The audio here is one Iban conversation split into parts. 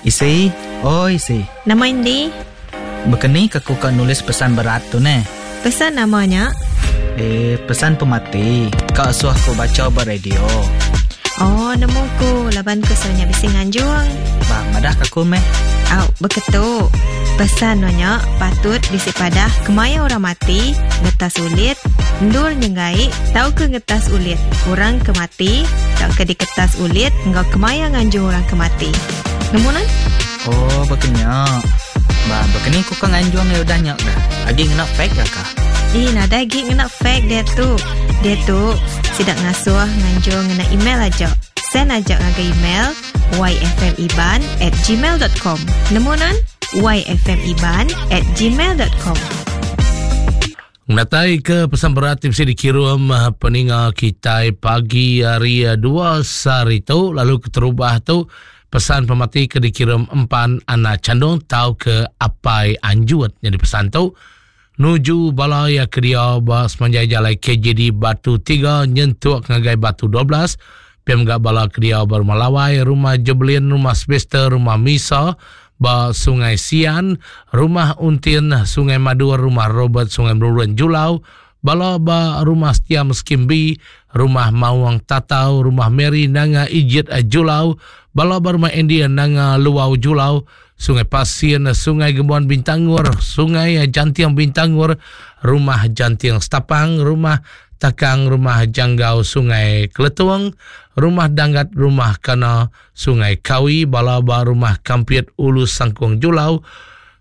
Isi, oi isi. Nama indi? Bekeni ke ku ka nulis pesan berat tu neh? Pesan nama nya? Eh, pesan pemati. Ka asuh ku bacha ba radio. Oh, nemu ku laban ku selalu nya bisi nganjung. Bah, madah ka ku meh. Au, beketu. Pesan no nya patut bisi padah kemaya orang mati, ngetas ulit, endur nyenggai tauka ngetas ulit orang ke mati tauka diketas ulit enggau kemaya nganjung orang ke mati. Nemu nan? Oh, baka nya. Ba, baka ni ku ka nganjung iya udah nya ga. Agi ngena fax ga ka? Ih, nadai agi ngena fax diatu. Diatu, sida ngasuh nganjung ngena email aja. Send aja ngagai email yfmiban at gmail dot com. Nemu nan? yfmiban at gmail dot com. Ngenatai ke pesan berat ti bisi dikirum eh, peninga kitai pagi hari eh, dua sehari tu lalu keterubah tu pesan pemati ke dikirum empan anak candung tau ke apai anjut nyadi pesan tu nuju bala ya ke dia ba semanjai jalai KJD Batu 3 nyentuk ngagai Batu 12 pia mega bala ke dia ba Rumah Lawai, Rumah Jebelin, Rumah Sylvester, Rumah Misa, ba Sungai Sian, Rumah Untin, Sungai Madur, Rumah Robert, Sungai Merurun, Julau, bala ba Rumah Setiam Skim B, Rumah Mawang Tatau, Rumah Mary Nanga Ijit Julau, bala ba Rumah Andy Nanga Luau Julau, Sungai Pasin, Sungai Gembuan Bintangor, Sungai Janting Bintangor, Rumah Janting Setapang, Rumah Takang, Rumah Janggau Sungai Keletung, Rumah Danggat, Rumah Kana, Sungai Kawi, bala ba Rumah Kampit Ulu Sangkung Julau,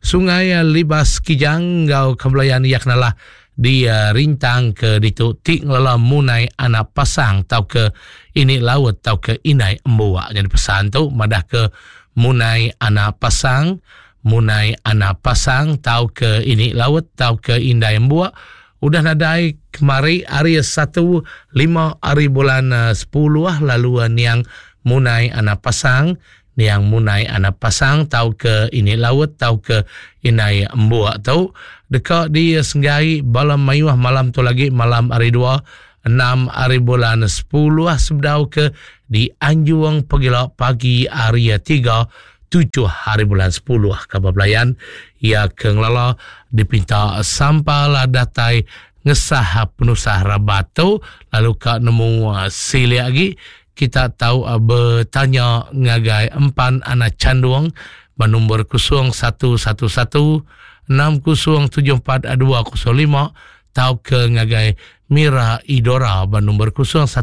Sungai Libas Kijang enggau Kebelayan iya kenalah di Rintang ke ditu ti ngelala munai anak pasang tauka ini laut tauka indai embuak. Nyadi pesan tu madah ke munai anak pasang, munai anak pasang tauka ini laut tauka indai embuak udah nadai kemari hari satu lima hari bulan sepuluh lalu niang munai anak pasang niang munai anak pasang tauka ini laut tauka indai embuk tu deka disenggai bala mayuh malam tu lagi malam hari dua enam hari bulan sepuluh sebedau ke dianjung pegila pagi hari tiga tujuh hari bulan sepuluh kaban belayan iya ke ngelala dipinta sampal datai ngesah penusah rabat tu lalu ka nemu silik agi kita tau betanya ngagai empan anak chandung ba nombor 0111 6074 205 tauka ngagai Mira Idora ba nombor 016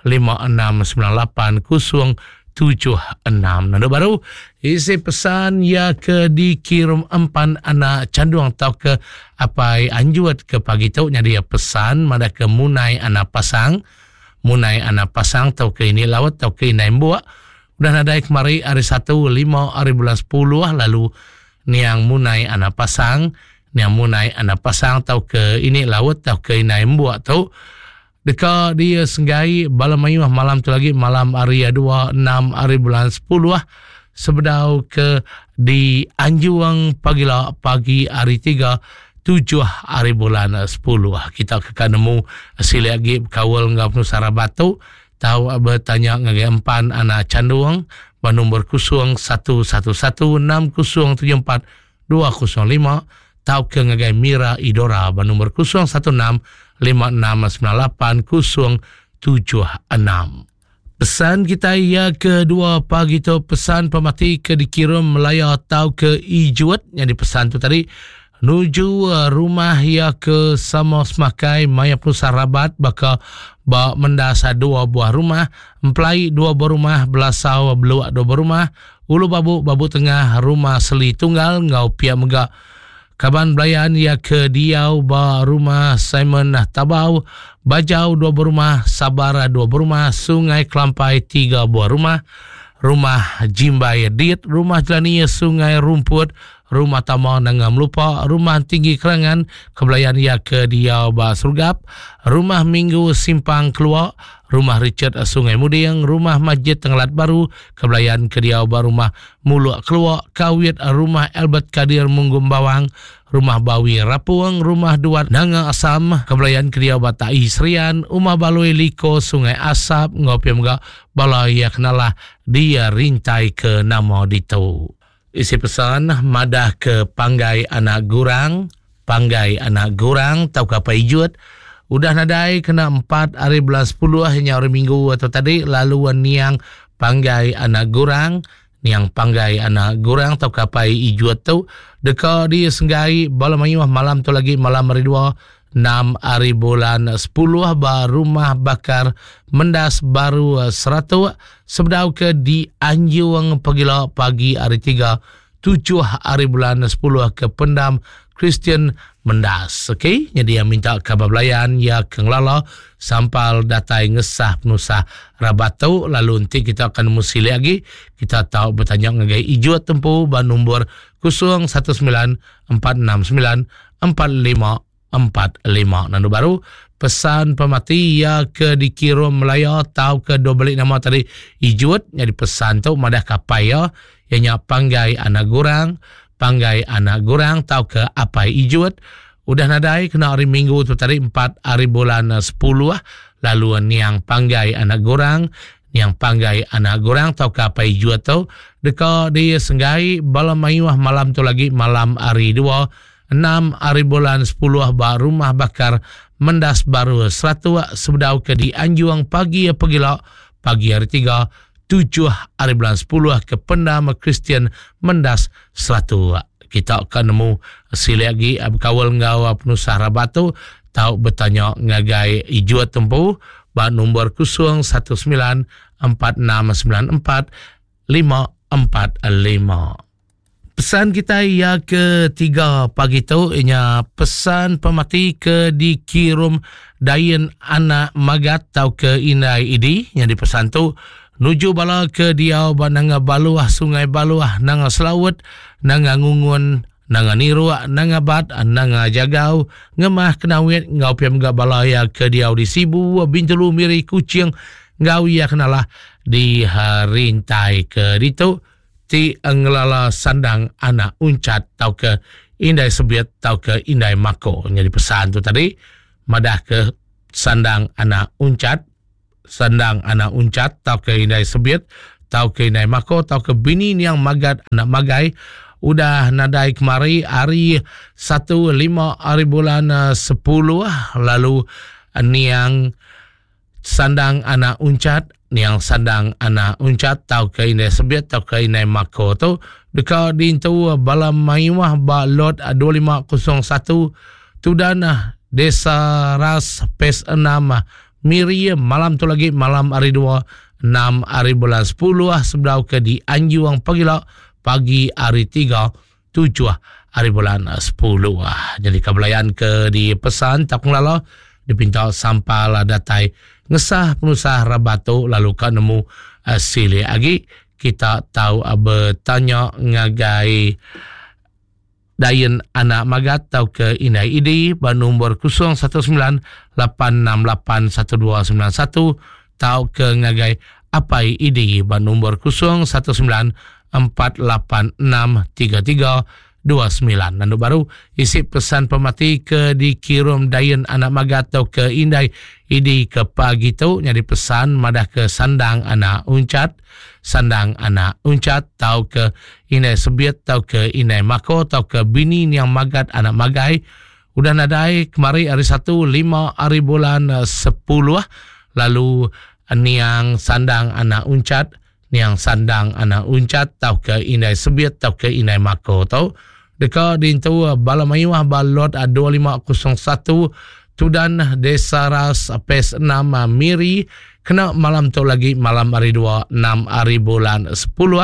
5698 076. Nandu baru isi pesan iya ke dikirum empan anak chandung tauka apai anjut ke pagi tu nyadi pesan madah ke munai anak pasang munai anak pasang tauka ini laut tauka indai embuk udah nadai kemari hari satu lima hari bulan sepuluh lalu niang munai anak pasang niang munai anak pasang tauka ini laut tauka indai embuk tu deka disenggai bala mayuh malam tu lagi malam hari dua enam hari bulan sepuluh sebedau ke dianjung pagila pagi hari tiga tujuh hari bulan sepuluh. Kita ke ka nemu silik agi bekaul enggau penusah rabat tu tau betanya ngagai empan anak chandung ba nombor 0111 6074 205 tauka ngagai Mira Idora ba nombor 016 5698 076. Pesan kitai iya kedua pagi tu pesan pemati ke dikirum Melaya tauka Ijuat nyadi pesan tu tadi nuju eh, rumah iya ke sama semakai maya penusah rabat baka ba mendas dua buah rumah, empelai dua buah rumah, belasau beluak dua buah rumah, Ulu Babu, Babu Tengah, Rumah Seli Tunggal enggau pia mega kaban belayan iya ke diau ba Rumah Simon Tabau, Bajau dua buah rumah, Sabar dua buah rumah, Sungai Kelampai tiga buah rumah, Rumah Jimbai Dit, Rumah Jelani Sungai Rumput, Rumah Tama Nanga Melupa, Rumah Tinggi Kerangan, Kebelayan iya ke diau ba Serugap, Rumah Minggu Simpang Kelua, Rumah Richard Sungai Muding, Rumah Masjid Tengelat Baru, Kebelayan ke diau ba Rumah Muluk Kelua, Kawit, Rumah Albert Kadir Munggum Bawang, Rumah Bawi Rapung, Rumah Duat Nanga Asam, Kebelayan ke diau ba Tai Serian, Umah Balui Liko Sungai Asap enggau pia mega bala iya ke nalah di rintai ke nama ditu. Isi pesan madah ke panggai anak gurang, panggai anak gurang tauka apai ijut udah nadai kena empat ari bulan sepuluh nya hari minggu tu tadi lalu niang panggai anak gurang niang panggai anak gurang tauka apai ijut tu deka disenggai bala mayuh malam tu lagi malam hari dua enam ari bulan sepuluh ba Rumah Bakar Mendas Baru Seratok sebedau ke dianjung pegila pagi hari tiga tujuh ari bulan sepuluh ke Pendam Kristian Mendas. Okey, jadi yang minta kabar belayan ya ke ngelala sampal datai ngesah penusah rabat tu lalu enti kita akan nemu silik agi kita tau betanya ngagai Ijut tempu ba nombor 019 469 4545. Nandu baru, pesan pemati iya ke dikirum Melaya tau ke dua beli nama tadi Ijut nyadi pesan tu madah kapai iya iya nya Panggai Anak Gurang, Panggai Anak Gurang tau ke Apai Ijut udah nadai kena hari Minggu tu tadi empat hari bulan sepuluh lalu niang Panggai Anak Gurang Niang Panggai Anak Gurang tauka Apai Ijut tu deka disenggai bala mayuh malam tu lagi malam hari dua, enam hari bulan sepuluh ba Rumah Bakar Mendas Baru Seratok sebedau ke dianjung pagi pegila pagi hari tiga, tujuh hari bulan sepuluh ke Pendam Kristian Mendas Seratok. Kita ka nemu silik agi bekaul enggau penusah rabat tu tau betanya ngagai Ijut tempu ba nombor 019 4694 545. Pesan kita ia ketiga pagi tu ianya pesan pemati ke dikirum Dain anak Magat tau ke Indai Idi yang dipesan tu nuju bala ke diau ba Nanga Baluh Sungai Baluh Nanga Selaut Nanga Ngungun Nanga Niruk, Nanga Bat, Nanga Jagau, Ngemah Kenawit enggau pia mega bala iya ke diau di Sibu, Bintulu, Miri, Kuching enggau iya ke nalah di rintai ke ditu ti ngelala sandang anak Unchat tauka Indai Sebit tauka Indai Mako. Nyadi pesan tu tadi madah ke sandang anak Unchat, sandang anak Unchat tauka Indai Sebit tauka Indai Mako tauka bini niang Magat anak Magai udah nadai kemari hari satu lima hari bulan sepuluh lalu niang sandang anak Unchat niang sandang anak Unchat tauka Indai Sebit tauka Indai Mako tu deka diintu bala mayuh ba lot 2501 Tudan Desa Ras Phase 6 Miri malam tu lagi malam hari dua enam hari bulan sepuluh sebedau ke di Anjuang pagila pagi hari tiga tujuh hari bulan sepuluh. Jadi kebelayan ke di pesan tak ngelala dipinta sampal datai ngesah penusah rabat tu lalu ka nemu silik agi kita tau betanya ngagai Dain anak Magat tauka Indai Idi ba nombor 019 868 1291 tauka ngagai Apai Idi ba nombor 019 486 3329. Nandu baru isi pesan pemati ke dikirum Dain anak Magat tauka Indai Idi ke pagi tu nyadi pesan madah ke sandang anak Unchat Sandang anak Unchat tauka Indai Sebit tauka Indai Mako tauka bini niang Magat anak Magai udah nadai kemari hari Satu lima hari bulan sepuluh lalu niang Sandang anak Unchat niang Sandang anak Unchat tauka Indai Sebit tauka Indai Mako tu deka diintu bala mayuh ba lot 2501 Tudan Desa Ras Phase 6 Miri kena malam tu lagi malam hari dua enam hari bulan sepuluh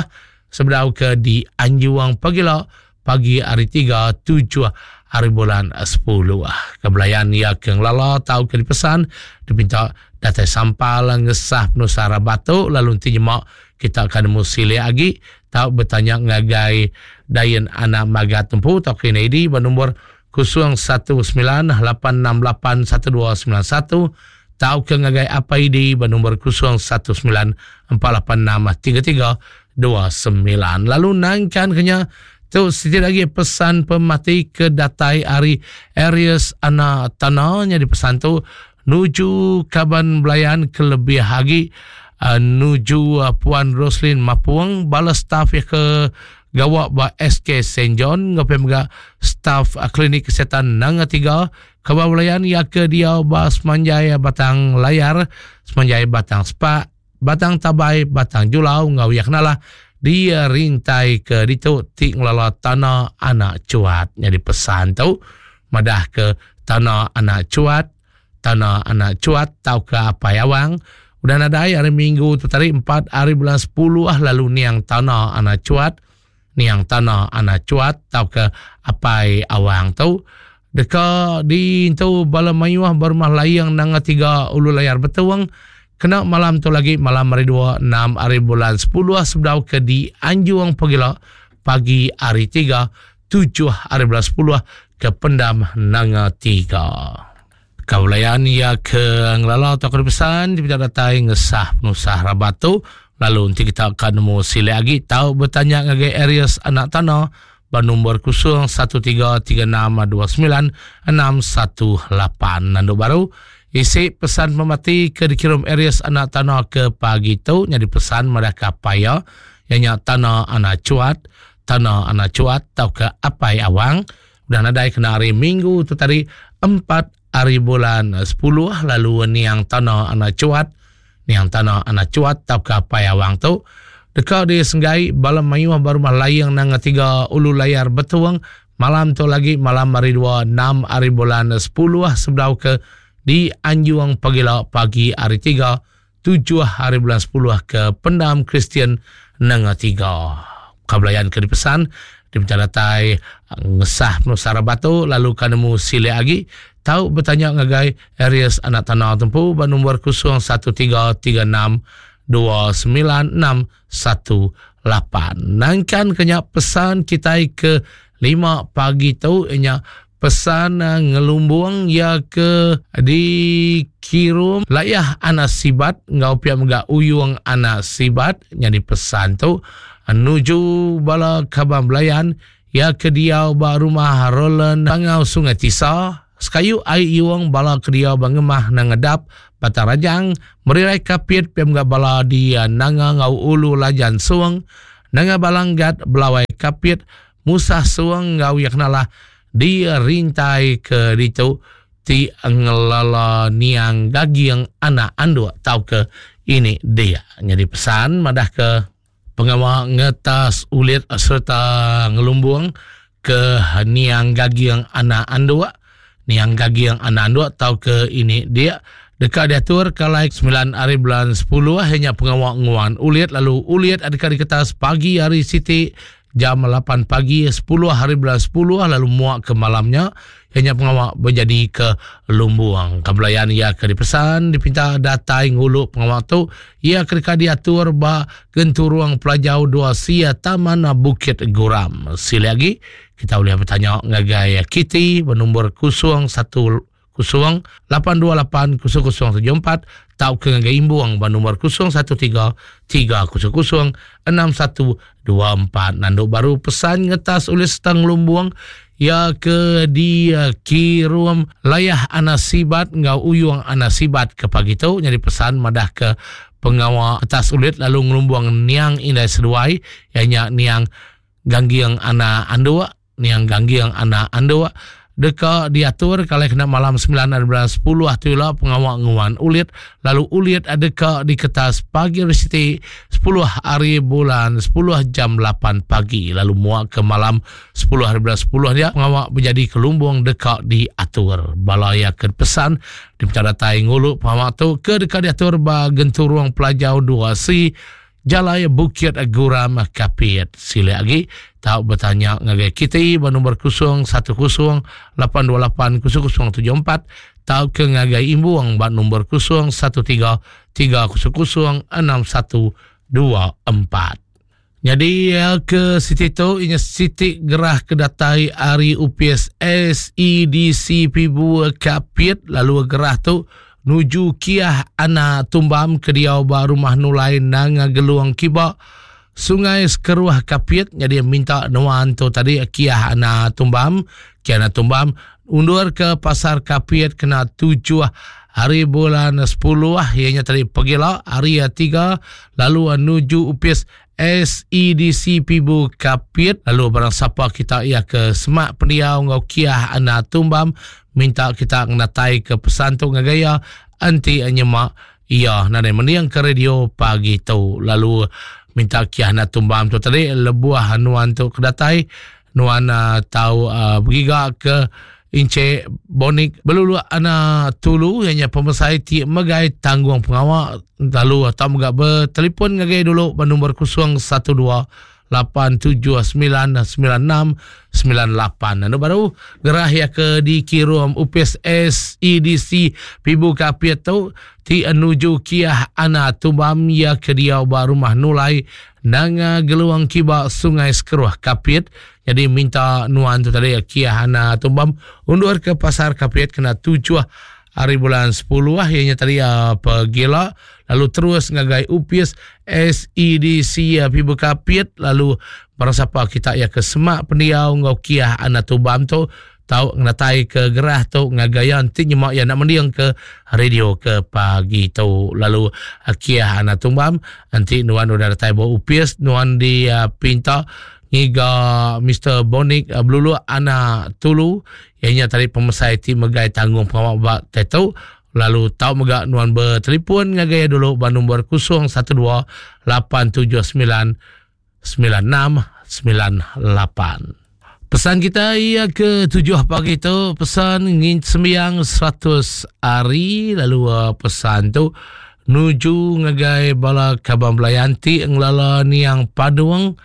sebedau ke di Anjuang pagila pagi hari tiga tujuh hari bulan sepuluh. Kebelayan iya ke ngelala tau ke dipesan dipinta datai sampal ngesah penusah rabat tu lalu enti nyema. Kita ka nemu silik agi tau betanya ngagai Dain Anak Magat empu tauka Ina Idi ba nombor 0198681291 tauka ngagai Apai Idi ba nombor 0194863329. Lalu nangkan ke nya tu siti lagi pesan pemati ke datai ari Aries Anak Tana nyadi pesan tu nuju kaban belayan ke lebih agi uh, nuju uh, Puan Roslin Mapung bala staf ya ke gawa ba SK St John enggau pia mega staf uh, klinik kesihatan Nanga Tiga kaban belayan ya ke diau ba semanjai Batang Layar semanjai Batang Spak Batang Tabai Batang Julau enggau ya kenalah di rintai ke ditu ti ngelala tanah anak cuat nyadi pesan tu madah ke tanah anak cuat Tanah anak Chuat tauka Apai Awang udah nadai hari Minggu tu tadi 4 hari bulan 10 lalu niang Tanah anak Chuat niang Tanah anak Chuat tauka Apai Awang tu deka diintu bala mayuh ba rumah Laing Nanga Tiga Ulu Layar Betong kena malam tu lagi malam hari 2 6 hari bulan 10 sebedau ke dianjung pagila pagi hari 3 7 hari bulan 10 ke pendam Nanga Tiga. Kaulayan iya ke ngelala atau ke pesan dia datai ngesah penusah rabat tu lalu nanti kita akan nemu silik lagi tau bertanya ngagai Aries Anak Tanah ba nombor 0133629618 nandu baru isi pesan pemati ke dikirim Aries Anak Tanah ke pagi tu nyadi pesan madah ke apa ya ianya Tanah Anak Cuat Tana Anak Chuat tauka Apai Awang udah nadai kena hari Minggu tu tadi 4 hari bulan 10 lalu niang Tana Anak Chuat niang Tana Anak Chuat tauka Apai Awang tu deka disenggai bala mayuh ba rumah Laing Nanga Tiga Ulu Layar Betong malam tu lagi malam hari 2 6 hari bulan 10 sebedau ke dianjung pagila pagi hari 3 7 hari bulan 10 ke Pendam Kristian Nanga Tiga. Kabelayan ke dipesan diminta datai ngesah penusah rabat tu lalu ka nemu silik agi tau betanya ngagai Aries Anak Tanah tempu ba nombor 0133629618. Nangkan ke nya pesan kitai ke 5 pagi tu nya Pesan ngelumbung iya ke dikirum layah anak sibat enggau pia mega uyung anak sibat nyadi pesan tu nuju bala kaban belayan iya ke diau ba rumah Roland Pangau Sungai Tisa sekayu ai iung bala ke diau ba Ngemah Nangedap Batang Rajang Merirai Kapit pia mega bala di Nanga enggau Ulu Lajan Sung Nanga Balang Gat Belawai Kapit Musah suang enggau iya kenalah dirintai ke ditu ti ngelala niang gaging anak anduk tauka ini dia. Nyadi pesan madah ke pengawa ngetas ulit sereta ngelumbung ke niang gaging anak anduk, niang gaging anak anduk tauka ini dia deka diatur kalai 9 hari bulan 10 iya nya pengawa nguan ulit lalu ulit deka diketas pagi hari siti jam 8 pagi 10 hari bulan 10 lalu muak ke malam nya iya nya pengawa bejadi ke lumbung. Kebelayan iya ke dipesan dipinta datai ngulu pengawa tu iya ke deka diatur ba Genturung Pelajau 2 C Taman Bukit Guram. Silik agi kita ulih betanya ngagai Kitty ba nombor 01 0 828 0074 tauka ngagai Imbung ba nombor 013 300 6124. Nandu baru pesan ngetas ulih sereta ngelumbung iya ke dikirum layah anak sibat enggau uyung anak sibat ke pagi tu nyadi pesan madah ke pengawa ngetas ulit lalu ngelumbung niang indai seduai iya nya niang Gangging anak anduk Niang Gangging anak Anduk deka diatur kalai kena malam 9 hari bulan 10 tu ila pengawa nguan ulit lalu ulit deka diketas pagi hari siti 10 hari bulan 10 jam 8 pagi lalu muak ke malam 10 hari bulan 10 dia pengawa bejadi ke lumbung deka diatur. Bala iya ke pesan diminta datai ngulu pengawa tu ke deka diatur ba Genturung Pelajau 2C Jalai Bukit Guram Kapit. Silik agi tau betanya ngagai Kitty ba nombor 010 828 0074 tauka ngagai Imbung ba nombor 013 300 6124. 24. Nyadi ke siti tu inya siti gerah ke datai ari upis SEDC Pibu Kapit lalu gerah tu nuju Kiah Ana Tumbam ke diau ba Rumah Nulai Nanga Gelung Kiba Sungai Sekeruh Kapit. Nyadi minta nuan tu tadi Kiah Ana Tumbam, Kiah Ana Tumbam undur ke Pasar Kapit kena 7 hari bulan 10 iya nya tadi pegila hari 3 lalu nuju upis SEDC Pibu Kapit. Lalu barang sapa kita iya ke semak pendiau enggau Kiah Ana Tumbam minta kita ngenatai ke pesan tu ngagai iya enti nyemak iya nadai mending ke radio pagi tu. Lalu minta Kiah Ana Tumbam tu tadi lebuh nuan tu ke datai nuan uh, tau uh, begiga ke Encik Bonik Belulu Ana Tulu ianya pemesai ti megai tanggung pengawa lalu atau mega bertelefon ngagai dulu ba nombor 012 879 9698. Anu baru gerah ya ke dikirum upis SEDC Pibu Kapit tu ti nuju Kiah Ana Tumbam ya ke diau ba rumah Nulai Nanga Geluang Kiba Sungai Sekeruh Kapit. Jadi minta nuan tu tadi Kiah Ana Tumbam undur ke Pasar Kapit kena 7 hari bulan 10 ianya tadi pegila lalu terus ngagai upis SEDC Pibu Kapit. Lalu barang siapa kita ya ke semak pendiau enggau Kiah Ana Tumbam tu tau ngenatai ke gerah tu ngagai iya enti nyema iya nak mending ke radio ke pagi tu. Lalu Kiah Ana Tumbam enti nuan udah datai ba upis nuan dipinta ngiga Mister Bonik Beluluk Ana Tulu iya nya tadi pemesai ti megai tanggung pengawa ba tetu. Lalu tau mega nuan bertelefon ngagai iya dulu ba nombor 012 879 9698. Pesan kita ia ke 7 pagi tu pesan ngin sembiang 100 hari lalu pesan tu nuju ngagai bala kaban belayan ti ngelala niang Padung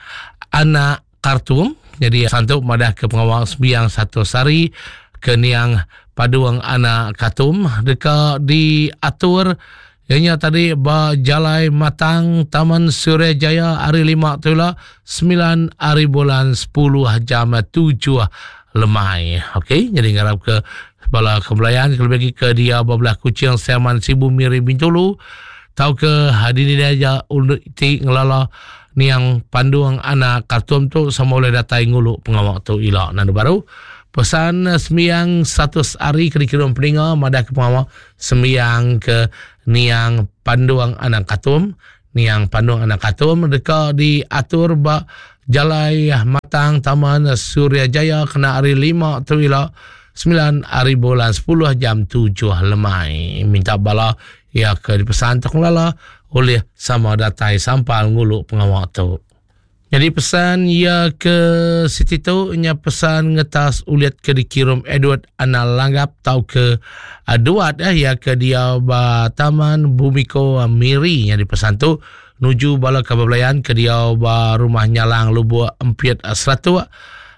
anak Kartum. Jadi pesan tu madah ke pengawa sembiang 100 hari ke niang Padung anak Kartum deka diatur ianya tadi ba Jalai Matang Taman Suria Jaya hari 5 tu lah 9 hari bulan 10 jam 7 lemai. Okey, jadi ngarap ke bala kebelayan ke lebih lagi ke dia bebelah Kuching, Siaman, Sibu, Miri, Bintulu tau ke hari ni aja untuk ti ngelala niang Pandung anak Kartum tu sama boleh datai ngulu pengawak tu ila. Nandu baru pesan sembiang 100 hari ke dikirim peninga madah ke pengawak sembiang ke niang Pandung anak Katum. Niang Pandung anak Katum deka diatur ba Jalai Matang Taman Suria Jaya kena hari 5 tu ila 9 hari bulan 10 jam 7 lemai. Minta bala ia ke dipesan tu ngelala oleh sama datai sampal ngulu pengawak tu. Jadi pesan ia ke siti tu nya pesan ngetas ulit ke dikirim Edward Ana Langgap tau ke Duat ya ke dia ba Taman Bumiko Miri. Jadi pesan tu nuju bala kabar belayan ke dia ba rumah Nyalang Lubuk Empiet Seratuk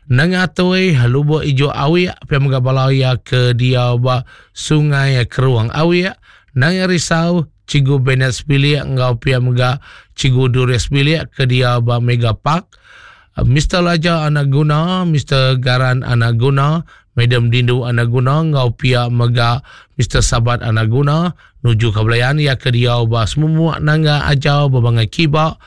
Nengah Toi Lubuk Ijo Awik pia mega bala ia ke dia ba Sungai Keruang Awik Nanga Risau Cikgu Bennett Sebilik enggau pia mega Cikgu Duris Sebilik ke dia ba Mega Park, Mister Laja Anak Guna, Mister Garan Anak Guna, Madam Dindu Anak Guna enggau pia mega Mister Sabat Anak Guna nuju ke belayan iya ke diau ba Semumuk Nangga Ajau Bebangai Kiba,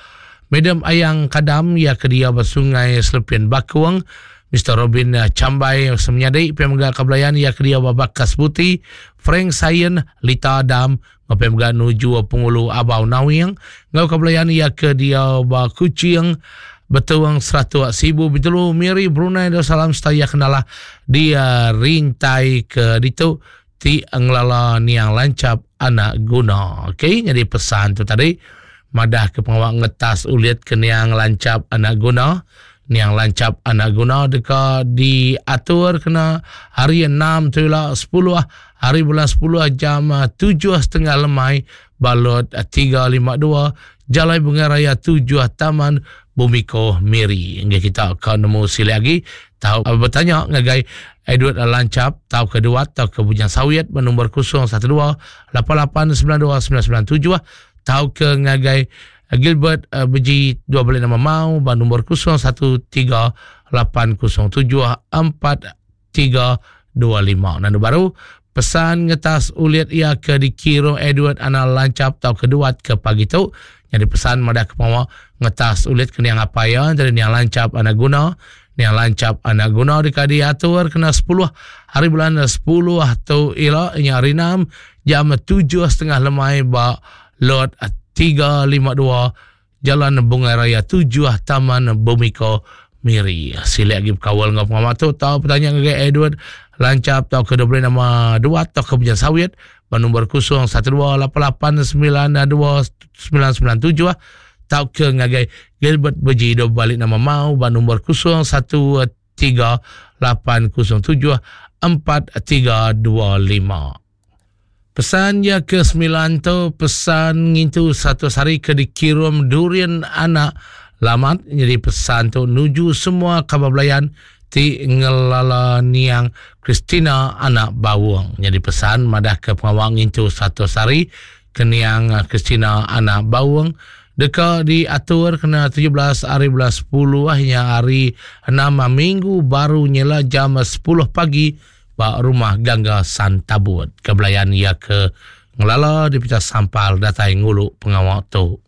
Madam Ayang Kadam iya ke diau ba Sungai Selepin Bakung, Mister Robin Chambai semenyadi pia mega ke belayan iya ke diau ba Bakas Buti, Frank Sayen, Lita Adam, enggau pia mega nuju Pengulu Abau Nawing enggau ke belayan iya ke diau ba Kuching, Betong, Seratuk, Sibu, Bintulu, Miri, Brunei Darussalam serta iya ke nalah di rintai ke ditu ti ngelala niang Lanchap Anak Guna. Okey, nyadi pesan tu tadi madah ke pengawa ngetas ulit ke niang Lanchap Anak Guna. Niang Lanchap Anak Guna deka diatur kena hari 6 tu ila 10 hari bulan 10 jam 7.30 lemai ba lot 352 Jalai Bungai Raya 7 Taman Bumiko Miri. Enggai kita ka nemu silik agi tau bertanya ngagai Edward Lanchap tau ke Duat tau ke Bujang Sawit ba nombor 012 8892 997 tau ke ngagai Gilbert Beji dua beli nama Mau ba nombor 013 807 4325. Nandu baru pesan ngetas ulit iya ke dikirum Edward Anal Lancap tau ke duat ke pagi tu nyadi pesan madah ke pengawa ngetas ulit ke niang apai iya jadi niang Lancap anak guna niang Lancap anak guna deka diatur kena 10 hari bulan 10 tu ila nya hari 6 jam 7.30 lemai ba Lot 352 Jalan Bungai Raya 7 Taman Bumiko Miri. Silik agi bekaul enggau pengawa tu tau betanya ngagai Edward Lancap tauka diberi nama Duat tauka Bujang Sawit ba nombor 0128892997 tauka ngagai Gilbert Beji dua balik nama Mau ba nombor 0138074325. Pesan iya ke semilan tu pesan ngintu 100 hari ke dikirum Durian Anak Lamat nyadi pesan tu nuju semua kaban belayan ti ngelala niang Christina Anak Bawong. Nyadi pesan madah ke pengawa ngintu 100 hari ke niang Christina Anak Bawong deka diatur kena 17 hari bulan 10 nya hari 6 minggu baru nyela jam 10 pagi ba Rumah Gangga Santabut. Ke belayan iya ke ngelala dipecah sampal datai ngulu pengawa tu.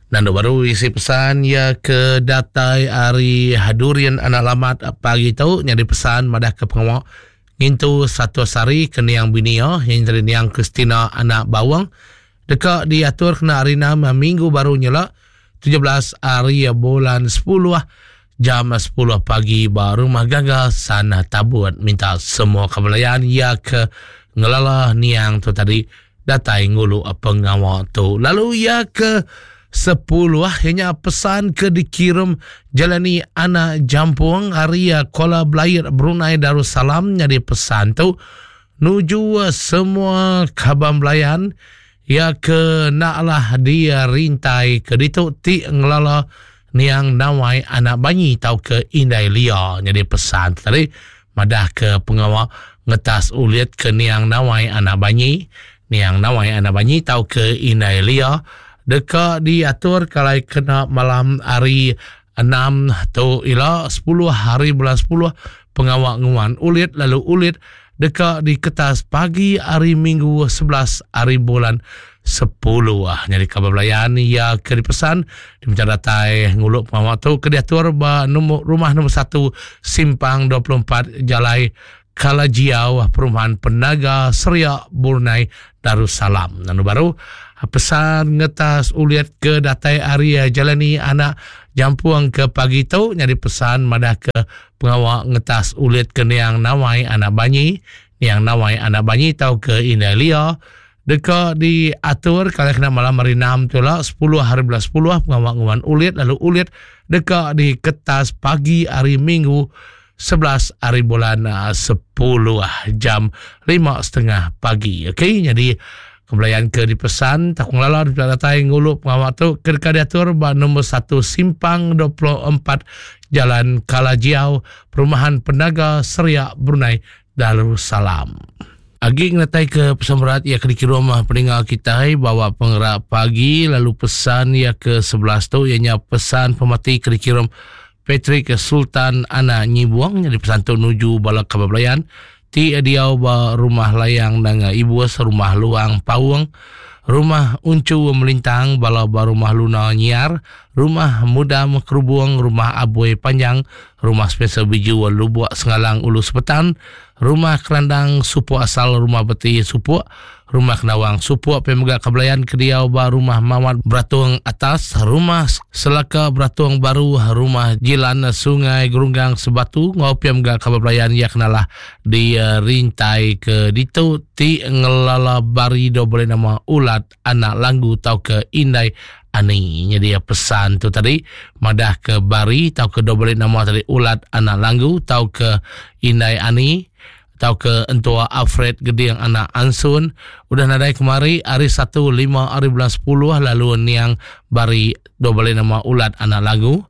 Nandu baru isi pesan iya ke datai ari Durian Anak Lamat pagi tu nyadi pesan madah ke pengawa ngintu 100 hari ke niang bini iya yang nyadi niang Christina Anak Bawang deka diatur kena hari 6 minggu baru nyela 17 hari bulan 10 jam 10 pagi ba Rumah Gaga San Tabut. Minta semua kebelayan iya ke ngelala niang tu tadi datai ngulu pengawa tu. Lalu iya ke 10 ianya pesan ke dikirim Jalani Anak Jampung ari Kuala Belair Brunei Darussalam nyadi pesan tu nuju semua kaban belayan iya ke enda alah dirintai ke ditu ti ngelala niang Nawai anak Banyi tauka Indai Lia nyadi pesan tu tadi madah ke pengawa ngetas ulit ke niang Nawai anak Banyi niang Nawai anak Banyi tauka Indai Lia deka diatur kalai kena malam hari 6 tu ila 10 hari bulan 10 pengawa nguan ulit lalu ulit deka diketas pagi hari Minggu 11 hari bulan 10. Ah, nyadi kaban belayan iya ke dipesan diminta datai ngulu pengawa tu ke diatur ba nombor rumah nombor 1 Simpang 24 Jalai Kalajiau Perumahan Penaga Seria Brunei Darussalam. Lalu baru pesan ngetas ulit ke datai ari Jalani anak Jampung ke pagi tu nyadi pesan madah ke pengawa ngetas ulit ke niang Nawai anak Banyi, niang Nawai anak Banyi tau ke Indai Lia deka diatur kala kena malam hari 6 tu lah 10 hari bulan 10 pengawa nguan ulit lalu ulit deka diketas pagi hari Minggu 11 hari bulan 10 jam 5.30 pagi. Okey, jadi kebelayan ke dipesan tak ngelala di datai ngulu pengawa tu ke deka diatur ba nombor 1 Simpang 24 Jalan Kalajiau, Perumahan Penaga Seria Brunei Darussalam. Agi ngenatai ke pesan berat ia ke dikirum peninga kitai bawa pengerak pagi lalu pesan ia ke 11 tu ianya pesan pemati ke dikirum Patrick Sultan Anak Nyibuang nyadi pesan tu nuju bala kaban belayan ti diau ba Rumah Layang Nanga Ibus, Rumah Luang Paung, Rumah Unchu Melintang, bala ba Rumah Luna Nyiar, Rumah Mudam Kerubung, Rumah Abui Panjang, Rumah Spencer Biju Lubuk Sengalang Ulu Sepetan, Rumah Kerandang Supuk Asal Rumah Beti Supuk, Rumah Kenawang Supuk pia mega Kebelayan ke diau ba Rumah Mawat Beratung Atas, Rumah Selaka Beratung Baru, Rumah Jilan Sungai Gerunggang Sebatu enggau pia mega Kaban Belayan iya kenalah di rintai ke ditu ti ngelala bari do boleh nama Ulat Anak Langgu tauka Indai Ani. Nyadi pesan tu tadi madah ke bari tauka do boleh nama tadi Ulat Anak Langgu tauka Indai Ani tauka entua Alfred Geding anak Ansun udah nadai kemari hari Satu lima hari bulan 10 lalu niang bari dua bali nama Ulat anak Lagu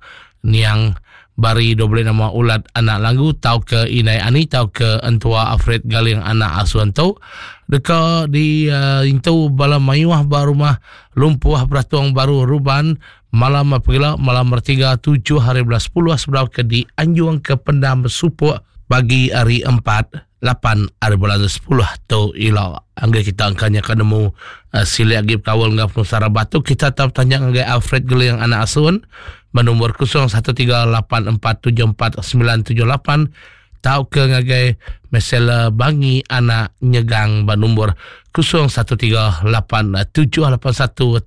niang bari dua bali nama Ulat anak Lagu tauka Indai Ani tauka entua Alfred Galing anak Asun tu deka di uh, intu bala mayuh ba rumah Lumpuh Beratung Baru Ruban. Malam pegila malam bertiga tujuh hari bulan sepuluh sebedau ke dianjung ke pendam Supuk pagi hari empat lapan hari bulan sepuluh tu ila. Anggai kita engka nya ka nemu uh, silik agi bekaul enggau penusah rabat tu kita tau betanya ngagai Alfred Geling anak Asun ba nombor 0138474978 tauka ngagai Mesela Bangi anak Nyegang ba nombor 0138781382.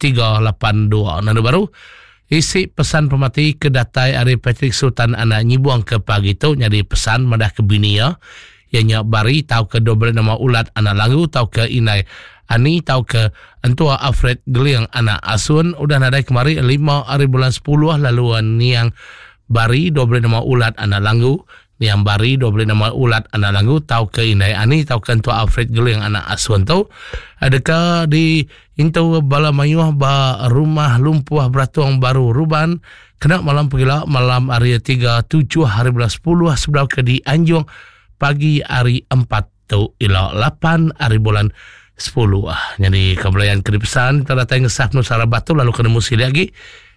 Nanda baru isi pesan pemati ke datai ari Patrick Sultan anak Nyibong ke pagi tu nyadi pesan madah ke bini iya iya nya Bari tauka dua nama Ulat anak Langgu tauka Indai Ani tauka entua Alfred Geling anak Asun udah nadai kemari lima ari bulan sepuluh lalu niang Bari 25 ulat anak langgu, Niang Bari 25 ulat anak langgu tauka Indai Ani tauka entua Alfred Geling anak Asun tu deka di intu bala mayuh ba Rumah Lumpuh Beratung Baru Ruban kena malam pegila malam hari tiga tujuh hari bulan sepuluh sebedau ke dianjung pagi hari empat tu ila lapan hari bulan sepuluh. Nyadi ke belayan ke dipesan kita datai ngesah penusah rabat tu lalu kena musi lagi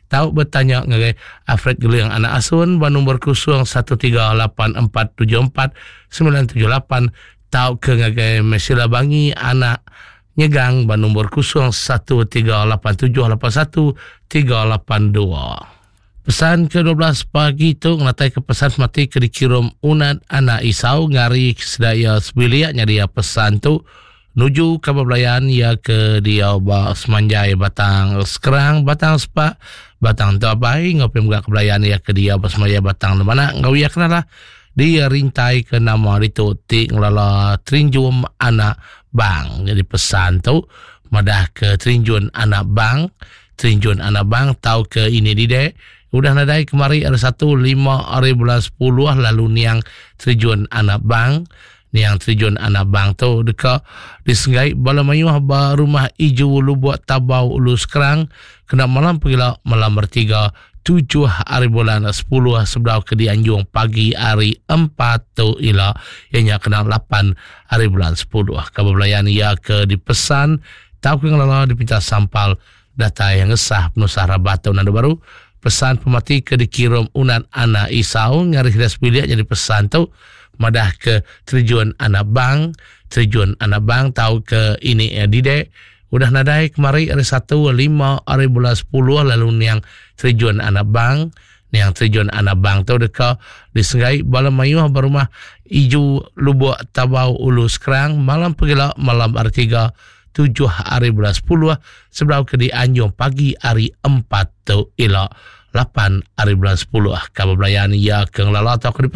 tau betanya ngagai Alfred Geling anak Asun ba nombor 0138474978 tau ke ngagai Mesila Bangi anak Nyegang ba nombor 0138781382. Pesan ke 12 pagi tu ngenatai ke pesan semati ke dikirum Unat anak Isau ngari sida iya sebilik nyadi iya pesan tu nuju kaban belayan iya ke diau ba semanjai Batang Skrang, Batang Sepak, Batang Entabai enggau pia mega ke belayan iya ke diau ba semanjai Batang Lemanak enggau iya kenalah dirintai ke nama ditu ti ngelala Terinjum anak Bang. Jadi pesan tu madah ke Terinjun anak Bang Terinjun anak bang tauka ini didek udah nadai kemari hari satu lima hari bulan sepuluh lalu niang Terinjun anak bang niang Terinjun anak bang tu deka disenggai bala mayuh ba rumah Iju Lubuk Tabau Ulu Skrang kena malam pegila malam bertiga tujuh hari bulan sepuluh sebedau ke dianjung pagi hari empat tu ila iya nya kena lapan hari bulan sepuluh. Kaban belayan iya ke dipesan Tauka ngelala dipinta sampal datai ngesah penusah rabat tu nandu baru pesan pemati ke dikirum unat anak Isau ngari sida sebilik nyadi pesan tu madah ke terjun anak bang terjun anak bang tauka ini didek udah nadai kemari hari satu lima hari bulan sepuluh lalu niang terjun anak bang Niang Terjun anak Bang tu deka disenggai bala mayuh ba rumah Iju Lubuk Tabau Ulu Skrang malam pegila malam hari tiga tujuh hari bulan sepuluh sebedau ke dianjung pagi hari empat tu ila lapan hari bulan sepuluh. Kaban belayan iya ke ngelala tauka.